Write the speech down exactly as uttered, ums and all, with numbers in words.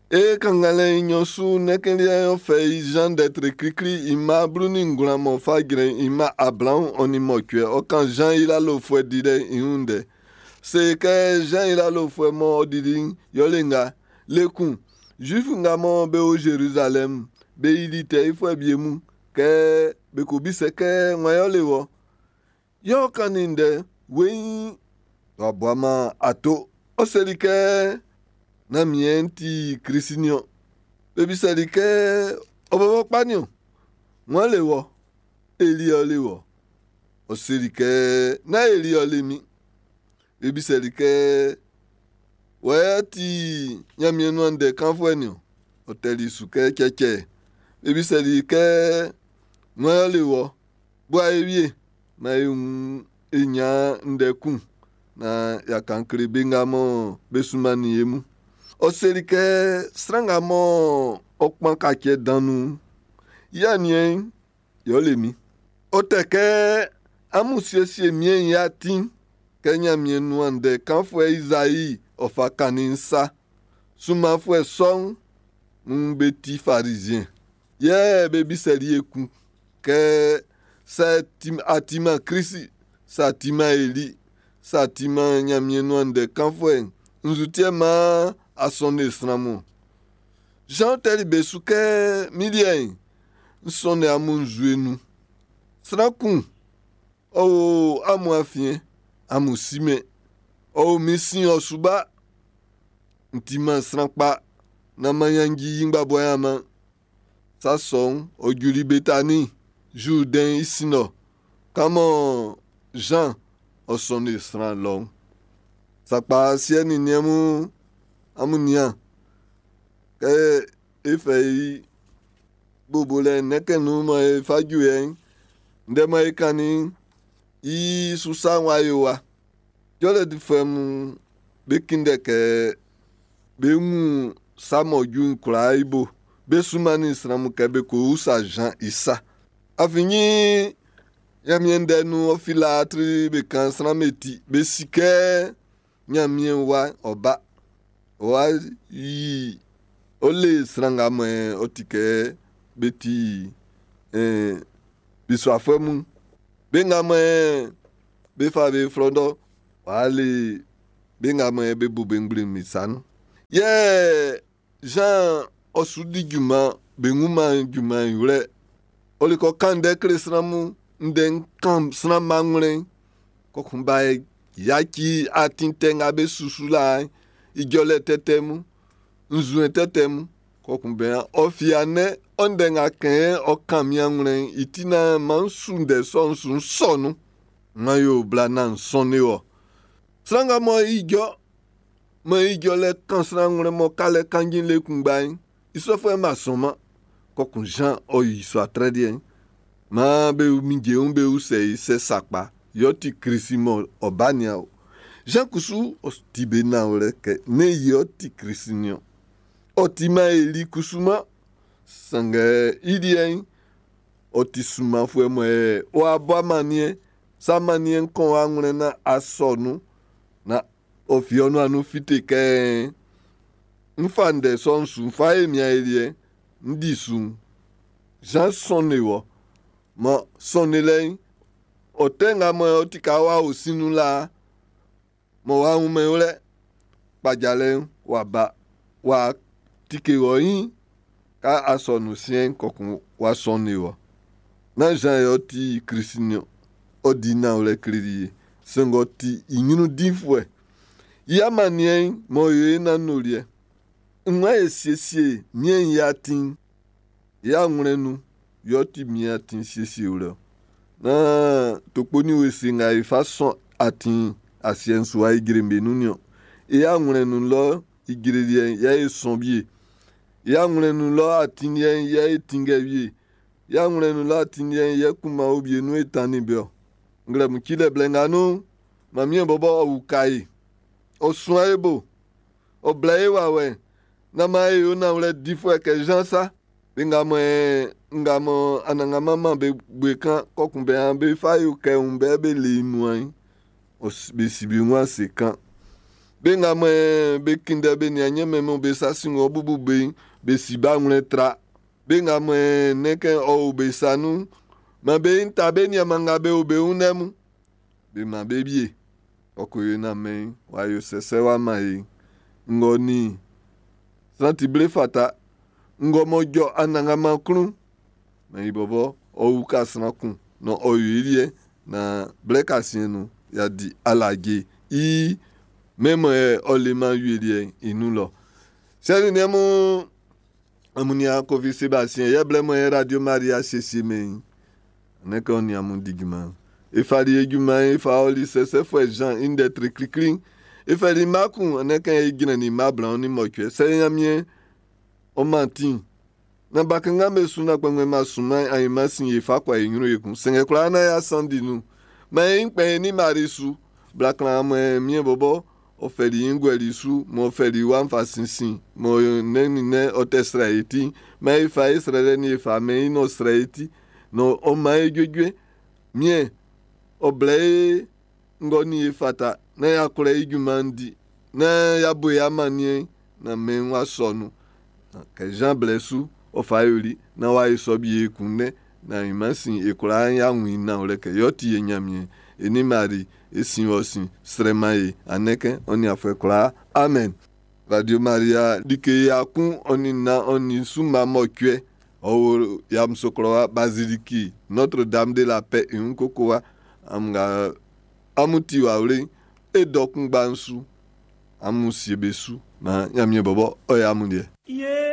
E kannganlɛ'n i nɲɔn su nɛkɛnliɛ'n ɔ fɛ i Zan ndɛ tre klikli i mma blu nin ngwlan m'ɔ fa jrɛn i mma ablaɔn ɔ nin mɔcuɛ ɔ kan Zan i lalofuɛ dilɛ'n i wun ndɛ. Se kɛ Zan i lalofuɛ mɔ ɔ dili'n yɛle nga. Le kun, Zuifu nga mɔ be o Zerizalɛmu, be yili tɛ yifuɛ wie mun kɛ be ko bisɛ kɛ wan yɛle wɔ. Yɛ ɔ kannin ndɛ weiin w'a buaman ato. Ɔ seli kɛ nán min yɛ n ti Klisi niɔn. Be bisɛli kɛ ɔ bɔbɔ kpa niɔn. Wan le wɔ? Eli ɔ le wɔ. Ɔ seli kɛ nán Eli ɔ le min. Be bisɛli kɛ wɔ yɛ ti Ɲanmiɛn nuan ndɛ kanfuɛ niɔn. Ɔ tɛli su kɛ cɛcɛ. Be bisɛli kɛ wan yɛ le wɔ? Bua e wie. Ma e wun e ɲan ndɛ kun naan y'a kan kle be nga mɔ be sunmannin e mun. Ɔ seli kɛ sran nga mɔ ɔ kpan kacɛ dan nun'n, i aniɛn'n yɛ ɔ le min. Ɔ tɛ kɛ amun siesie miɛn'n i atin kɛ Ɲanmiɛn nuan ndɛ kanfuɛ Izai ɔ fa kannin'n sa. Sunmanfuɛ sɔ'n mun be ti Farizien. Yɛ be bisɛli ekun kɛ sɛ a timan Klisi, sɛ a timan Eli, sɛ a timan Ɲanmiɛn nuan ndɛ kanfuɛ'n, nzu ti yɛ maan a sɔnnin sran mun. Jean tɛli be su kɛ min liɛ'n, n sɔnnin amun nzue nun. Sran kun, ɔ o amun afiɛn, amun simɛn. Ɔ o min sin ɔ su ba. N timan sran kpa, naan m'an yanji i ngbabua man. Sa sɔ'n, ɔ juli Betani, Zurdɛn i sin lɔ. Kan mɔ Jean ɔ sɔnnin sran lɔ'n. Sakpa siɛ nin niɛn mun amun nian kɛ e fɛ i bobolɛ nɛkɛ nun mɔ e fa ju yɛ'n ndɛ mɔ e kannin'n i su sa'n w'a yo wa. Jɔlɛ difuɛ mun be kunndɛ kɛ be wun sa m'ɔ ju'n kwlaa i bo. Be sunmannin sran mun kɛ be ko usa Jean i sa. Afin Ɲanmiɛn ndɛ nun ɔ fila tri be kan sran be ti. Be si kɛ Ɲanmiɛn wa ɔ ba. Ɔ wa yi ɔ le sran nga mɔ ɔ ti kɛ be ti eh, bisuafuɛ mun. Be nga mɔ be fa be flɔdɔ w'a le be nga mɔ be bu be ngble'n mi sa nun. Yɛ Jean ɔ su di junman be wunman junman i wlɛ. Ɔ le kɔ kan ndɛ kle sran mun ndɛ kan sran manwlɛn kɔkun ba yaci atin tɛ nga be susu la ijɔlɛ tɛtɛ mun nzue tɛtɛ mun kɔkun bɛn ɔ fi anɛ ɔ ndɛ nga kɛn ɔ kan mi anwlɛn i ti na man su ndɛ sɔ'n su sɔ nun. Man yo bla nan sɔn ne wɔ. Sran nga mɔ ijɔ mɔ ijɔlɛ kan sran nwlɛ mɔ kalɛ kanjin le kunngba'n i sɔfuɛ'n b'a sɔnman. Kɔkun Jean ɔ yi sɔ atrɛ deɛ. Maan be mi jeun be usɛ i sɛ sakpa yɛ ɔ ti Klisi mɔ ɔ ba nia o. Jean kusu ɔ ti be nanwlɛ kɛ ne yɛ ɔ ti Klisi niɔn. Ɔ timan Eli kusu man. Sanngɛ i liɛ'n ɔ ti sunmanfuɛ mɔ ɛ ɔ abɔ amaniɛ sa amaniɛ kɔn anwlɛn na asɔ nun na ɔ fi ɔnu anu fite kɛ n fa ndɛ sɔ'n su n fa e mia e liɛ n di su. Jean sɔnne wɔ mɔ sɔnne lɛ'n ɔ tɛ nga mɔ ɔ ti ka wa o sinu la mɔ wa wunmɛn wlɛ kpajalɛ'n wa ba wa tike wɔ yin ka asɔnu siɛn kɔkun wa sɔnne wɔ. Nán Jean yɛ ɔ ti Klisi niɔn. Ɔ di nanwlɛ kleli ye. Sanngɛ ɔ ti i ɲrun dinfuɛ. I amaniɛ'n m'ɔ yo e nanoliɛ. Nwa e siesie miɛn i atin. I anwlɛn nun yɛ ɔ ti miɛn atin siesie wlɛ. Na tokpo ni wese nga e fa sɔn atin asiɛ'n su wa ijre be nun niɔn. I anwlɛn nun lɔ ijre liɛ'n yɛ e sɔn wie. I anwlɛn nun lɔ atin liɛ'n yɛ e tinngɛ wie. I anwlɛn nun lɔ atin liɛ'n yɛ kunman obie nun e tannin be ɔ. Nglɛmun cilɛ blɛ nga nun, Mamiɛn bɔbɔ ɔ uka e. Ɔ suan e bo. Ɔ blɛ e wawɛ. Na man e yo nanwlɛ difuɛ kɛ Jean sa. Be nga mɔ ɛ nga mɔ Anannganman man be bue kan kɔkun bɛ be fa yo kɛ wun bɛ be le i nuan'n. Ɔ be si be wun ase kan. Be nga mɔ be kunndɛ be nian Ɲanmiɛn mɔ be sa sin ɔ bubu be'n, be si be awlɛn tra. Be nga mɔ nnɛn kɛ ɔ o be sa nun'n, man be ta be nianman nga be o be wun lɛ mun. Be man be wie. Ɔ ko yo naan mɛn'n w'a yo sɛsɛ w'a man e. Ngɔ nin sran ti ble fata. Ngɔ m'ɔ jɔ Anannganman klun. Man i bɔbɔ ɔ uka sran kun na ɔ yo i liɛ na blɛ kasiɛn nun y'a di alaje i mɛn mɔ ɔ leman wie liɛ'n i nun lɔ. Sɛ nin niɛn mun amun nian Kofi Sebastien yɛ blɛ mɔ yɛ Radio Maria siesie mɛn ne kɛ ɔ nin amun di junman. E fali e junman'n e fa ɔli sɛsɛfuɛ Jean i ndɛ tre klikli'n. E fɛli mma kun ne kɛ e jrɛnnin mma ablaɔn nin mɔcuɛ. Sɛ Ɲanmiɛn ɔ man ti'n. Na bakanngan be su na kpɛngbɛn ma sunman ainman sin e fa kɔ e ɲrun ekun. Sɛngɛ kwlaa na y'a sandi nun. Ma e kpɛn ni Mari su. Bla klan mɔ miɛn bɔbɔ ɔ fɛli i nguɛli su m'ɔ fɛli wa'n fa sinsin mɔ nɛ nin nɛ ɔ tɛ srɛ e ti. Ma e fa e srɛlɛ ni e fa mɛn i n'ɔ srɛ e ti. Na ɔ man e juejue. Miɛn ɔ blɛ e ngɔ ni e fata na y'a kwlɛ i junman'n di. Na y'a bo e amanniɛn na mɛn'n w'a sɔ nun. Kɛ Jean blɛ su ɔ fa yoli na w'a yi sɔ bi e kun nɛ na ainman sin e kwlaa y'a wun i nanwlɛ kɛ yɔ ti e Ɲanmiɛn e ni Mari e sin wɔ sin srɛ man e anɛkɛ ɔ nin afuɛ kwlaa amen. Radio Maria like ya kun ɔ nin nnan ɔ nin su mma mɔcuɛ ɔ o Yamoussoukro wa Basilique Notre Dame de la Paix i wun koko wa amun nga amun ti wawle'n e dɔ kunngba'n su amun sie be su na Ɲanmiɛn bɔbɔ ɔ yɛ amun liɛ. Ye